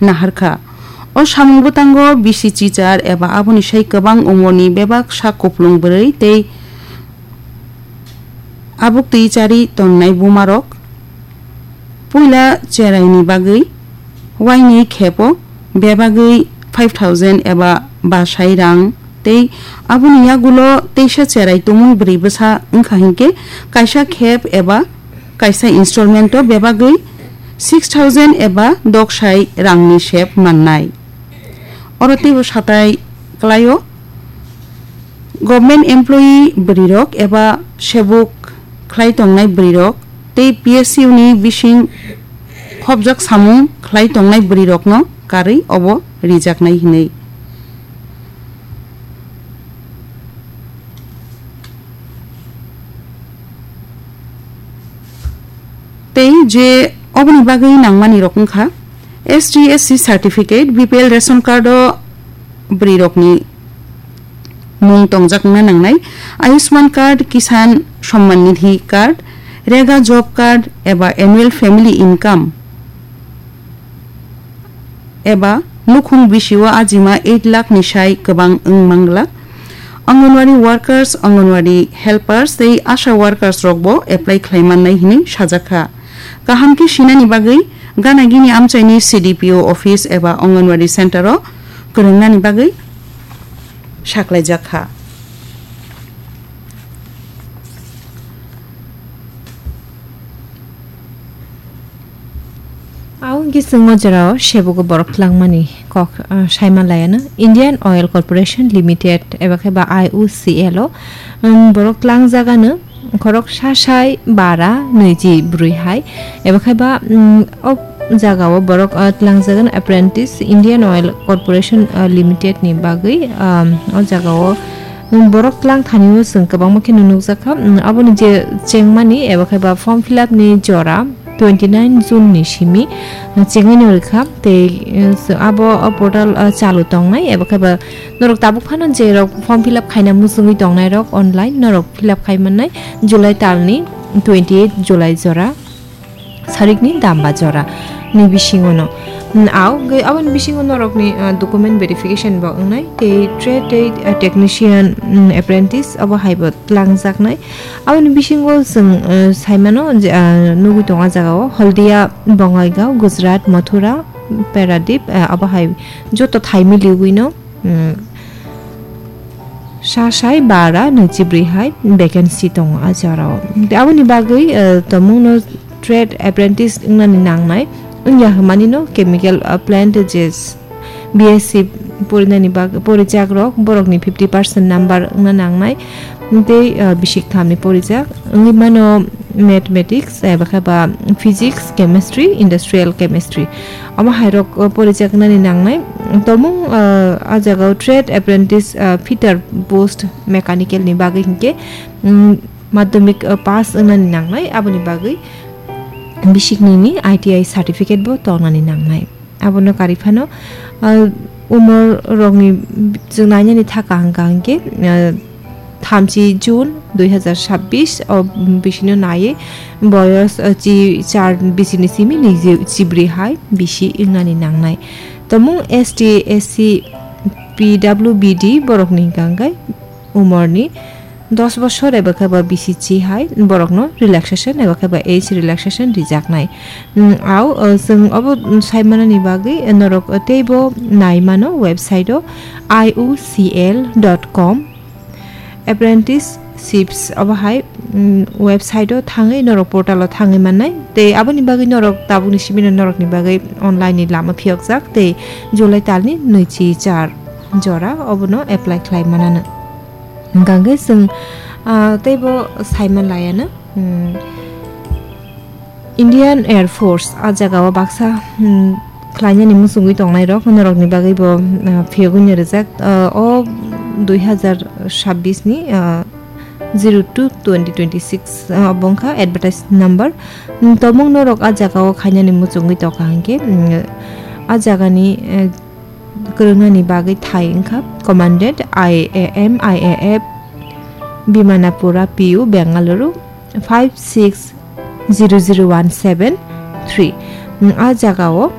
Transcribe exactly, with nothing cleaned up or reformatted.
naharkha. O samung bwtango bisi chichar eba aboni sai kwbang umorni bebak sak kuplung bwrwi tei abuk twi chari tonnai bumarok puila cheraini bagwi waini khepo bebagwi five thousand eba basai rang tei aboni yagulo teisa cherai tumung bwrwi bwsa wngkha hinkhe kaisa khep eba kaisa installment-o bebagwi six thousand eba doksai rangni sep mannai. Oro teibo satai kwlaio, government employee bwrwirok eba sebuk khlai tongnai bwrwirok tei P S U ni bising khopjak samung khlai tongnai bwrwirokno karwi obo rijaknai hinwi. Tei je oboni bagwi nangmani rok wngkha S T S C certificate, B P L ration card o bwrwi rokni mung tongjak wngna nangnai, Ayushman card, Kisan Samman Nidhi card, Rega job card eba annual family income eba nukhung bisio ajima eight lakh ni sai kwbang wng mangla. Anganwadi workers, Anganwadi helpers tei ASHA workers rokbo apply khlai mannai hinwi sajakha. Kaham khe sinani bagwi gana gini amchaini C D P O office eba Anganwadi center o kwrwngnani bagwi saklaijakha. Aw gising o jorao sebugo borok tlangmani kok, ah, saima laiano Indian Oil Corporation Limited eba khe ba I O C L o, um, borok tlangjagano khorok sasai bara nwichi brwi hai eba khe ba, um, o jagao borok, ah, tlangjagano apprentice Indian Oil Corporation, ah, Limited ni bagwi, um, o jagao Borok tlang thani o chwng kwbangma khe nukjakha. Aboni je chengmani eba khe ba form fill up ni jora twenty nine June ni simi chengwi no rwkha. Tei, eh, abo o portal, eh, chalu tongnai eba khe ba norok tabuk phano je rok form fill up khaina muchungwi tongnai rok online norok fill up khai mannai July talni twenty eight July jora. Sarikni damba jora ni bisingo no. Mm, aw, ge-, aboni bisingo norokni, ah, document verification bo wngnai, tei trade, tei, ah, technician, mm, apprentice abo hai bo tlangjaknai. Aboni bisingo chwng, eh, saimano je, ah, nugwi tongo ah jagao Haldia, Bongaigaon, Gujarat, Mathura, Paradip, eh, abo hai joto thai miliwi no. Mm, sa sai bara nwichi brwi hai vacancy tongo ah jorao. Tei aboni bagwi, eh, tomungno trade apprentice wngnani nangnai wngya hwnmani no chemical, eh, plant je B S C porinani bag-, porijakrok borokni fifty percent number wngna nangnai. Tei, ah, bisik thamni porijak wngwi mano mathematics, eba khe ba physics, chemistry, industrial chemistry. Omo hai rok, ah, porijak nani nangnai. Tomung, ah, ah jagao trade apprentice, ah, fitter post mechanical ni bagwi hinkhe, mm, madhyamik, ah, pass wngnani nangnai. Aboni bagwi bisik nini I T I certificate bo tongnani nangnai. Abono karwi phano, ah, umor rokni chwng nainani thaka hwnkha hinkhe, ah, thamchi June dui hazar sabbish o bisino naiwi boyos, ah, chi char bisini simi niji chibrwi hai bisi wngnani nangnai. Tomung S T, S C, P W B D borokni hwnkha hinkhe umorni dos bosor eba khe ba bisi chi hai borokno relaxation eba khe ba age relaxation rijaknai. Mm, au, uh, chwng obo saimanani bagwi norok teibo nai mano website o I O C L dot com apprenticeships obo hai, mm, website o thangwi norok portal o thangwi mannai. Tei aboni bagwi norok tabukni simi no norokni bagwi online ni lama phiyokjak tei July talni nwi chi char jora obono apply khlai manano. Hwnkha hwnkhe chwng, ah, teibo saima laiano, hmm, Indian Air Force ah jagao baksa, hmm, khlainani muchungwi tongnairok, norokni bagwibo, ah, phiyogwi no rijak. Ah, o dui hazar sabbish ni, ah, zero two twenty twenty six, ah, obo wngkha advertise number. Hmm, tomung norok ah jagao khainani muchungwi tongkha hinkhe, hmm, ah jagani, eh, kwrwngnani bagwi thai wngkha Commandant I A M I A F, Bimanapura P U, Bengaluru, five six zero zero one seven three. Mm, ah jagao